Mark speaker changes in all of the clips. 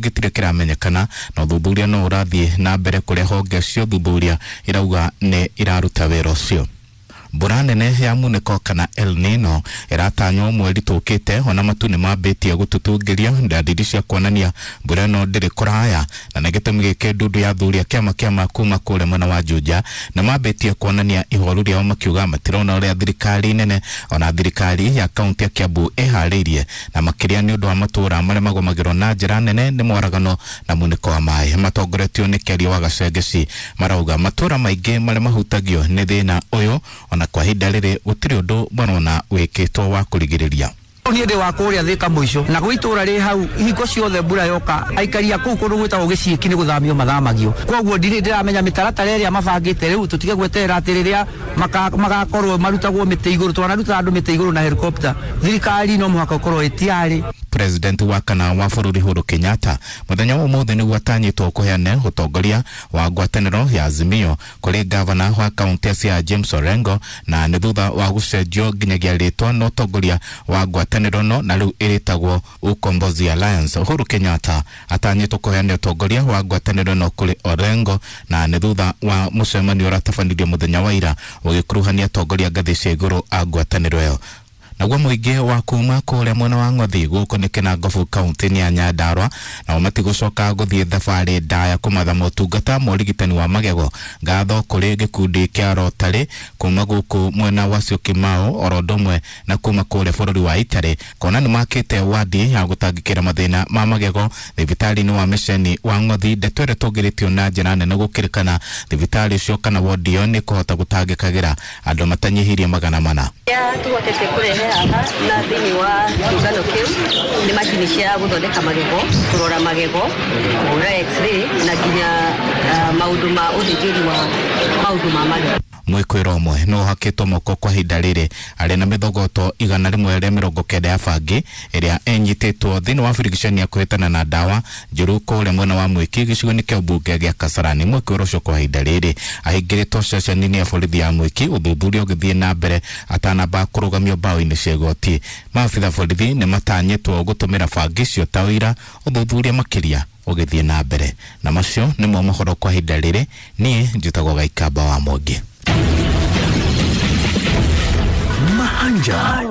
Speaker 1: Gĩtirĩ kĩramenyekana na ũthuthuria no ũrathiĩ na mbere kũrĩa honge cia ũthuthuria irauga nĩ iraruta wĩra ũcio. Mbura nene ya munĩko kana El Nino ĩratanywo mweri tũkĩte, ona matu nĩ mambĩtie gũtutungĩria ndadiri cia kuonania mbura ĩno ndĩrĩ kũraya, na nĩ gĩtũmi gĩkĩ ndundu ya athuri a kĩama kĩa kuma kũrĩa mwena wa Juja na mambĩtie kuonania ihoru rĩao, makiuga matirona ũrĩa thirikari nene ona thirikari ya kaunti ya Kiambu ĩharĩirie, na makĩria nĩ ũndũ wa matũũra marĩa magũmagĩrwo na njĩra nene nĩ mwaragano na munĩko wa maĩ. Matongoretio nĩ Kĩaria wa Gacengeci, marauga matũũra maingĩ marĩa mahutagio nĩ thĩna ũyũ ona kwa ihinda rĩrĩ gũtirĩ ũndũ marona wĩkĩtwo wa kũrigĩrĩria.
Speaker 2: Niĩ ndĩ wa kũrĩa Thĩka mũico na gwĩ itũra rĩ hau, hingo ciothe mbura yoka aikari a kũu kũndũ gwĩtagwo Gĩciĩki nĩ gũthamio mathamagio. Koguo ndirĩ ndĩramenya mĩtaratara ĩrĩa mabangĩte rĩu, tũtige gweterera atĩ rĩrĩa magakorwo marutagwo mĩtĩ igũrũ. Twanaruta andũ mĩtĩ igũrũ na helicopter. Thirikari no mũhaka ũkorwo ĩtiarĩ.
Speaker 1: President wa kana wa bũrũri Uhuru Kenyatta mũthenya wa ũmũthĩ nĩguo atanyĩtwo kũheana ũtongoria wa ngwatanĩro ya Azimio kũrĩ gavana wa kaunti ya Siaya James Orengo, na nĩ thutha wa gũcenjio nginyagia rĩtwa na ũtongoria wa ngwatanĩro no na rĩu ĩrĩtagwo Ukombozi Alliance. Uhuru Kenyatta atanyĩtwo kũheana ũtongoria wa ngwatanĩro no kũrĩ Orengo, na nĩ thutha wa mũcemanio ũratabanirio mũthenya wa ira ũgĩkuruhania atongoria ngathĩ cia igũrũ a ngwatanĩro ĩyo. Naguo mũingĩ wa kuma kũrĩa mwena wa Ng'othi gũkũ nĩ Kĩnangobu kaunti-inĩ ya Nyandarua nao matigũcoka gũthiĩ thabarĩ ndaya kũmatha motungata ma ũrigitani wa magego. Ngatho kũrĩ gĩkundi kĩa Rotary kuma gũkũ mwena wa Syokimau oro ũndũ ũmwe na kuma kũrĩa bũrũri wa Italy, kuona nĩ makĩte wadi ya gũtangĩkĩra mathĩna ma magego thibitarĩ-inĩ wa mĩceni wa Ng'othi. Ndeto ĩrĩa ĩtũngĩrĩtio na njĩra nene gũkĩrĩkana thibitarĩ ũcio kana wodi ĩyo nĩ kũhota gũtangĩkagĩra andũ matanyihĩirie 400.
Speaker 3: Tũhotete kũrehe haha na thĩinĩ wa kĩũngano kĩu nĩ macini cia gũthondeka magego, kũrora magego, kũhũra x-ray na nginya maũndũ ma ũthĩnjĩri wa maũndũ ma magego.
Speaker 1: Mwĩkwĩro ũmwe no ũhakĩtwo moko kwa ihinda rĩrĩ arĩ na mĩthogoto 190 ya bangi ĩrĩa ĩnyitĩtwo thĩinĩ wa birigiceni ya kũhĩtana na ndawa njũru kũrĩa mwena wa Mwĩki gĩcigo-inĩ kĩa ũmbunge gĩa Kasarani. Mwĩkwĩro ũcio kwa ihinda rĩrĩ ahingĩrĩtwo ceceni-inĩ ya borithi ya Mwĩki, ũthuthuria ũgĩthiĩ na mbere atanamba kũrũgamio mbaũ-inĩ cia igoti. Maabitha borithi nĩ matanyĩtwo gũtũmĩra bangi icio ta ũira, ũthuthuria makĩria ũgĩthiĩ na mbere. Na macio nĩmo mohoro kwa ihinda rĩrĩ. Niĩ njĩtagwo Gaikamba wa Mwangi.
Speaker 4: Mahanja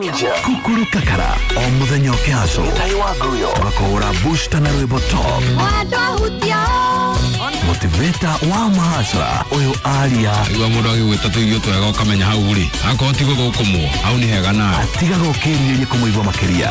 Speaker 4: Kukuru Kakara o muthenya ũkĩhaco tũgakũhũra booster na rwĩmbo top motivator wa mahacra ũyũ aria.
Speaker 5: Igua mũndũ agĩgwĩta tũirio twega ũkamenya hau rĩ akorwo ti gũthũkũmwo hau nĩ hega nawe.
Speaker 4: Atigaga ũkĩrirĩria kũmũigua makĩria.